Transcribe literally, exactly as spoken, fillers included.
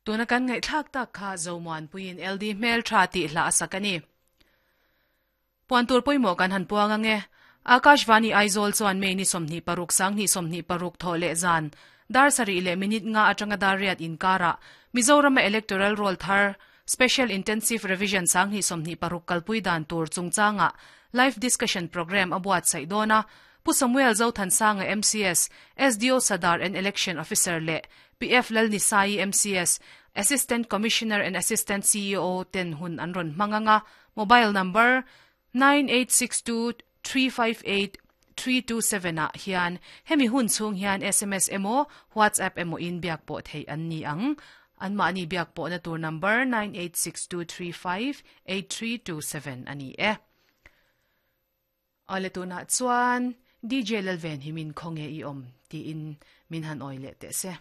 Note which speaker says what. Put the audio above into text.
Speaker 1: Tuna kan ngai thlak tak kha zomuan puin L D hmel tha ti hla asakani. Puan tur poimo kan han puanga nge. Akashvani Aizawl chuan May ni sawmhnih paruk sang hnih sawmhnih paruk thaw leh zan dar sarih leh minute nga atanga dar riat inkara Mizoram Electoral Roll thar Special Intensive Revision sang hnih sawmhnih paruk kalpui dan tur chungchanga live discussion program abuat sai dona. Pu Samuel Zothansanga M C S, S D O Sadar and Election Officer le P F Lalnisai M C S, Assistant Commissioner and Assistant C E O ten hun an ron manganga. Mobile number nine eight six two three five eight three two seven a hian hemi hun chung hian S M S emo WhatsApp emo in biak po thei an ni ang. An ma ani biak po na tur number nine eight six two three five eight three two seven ani e. Ale tuna chuan D J Lalven himin khonge i om ti in min han oile te se.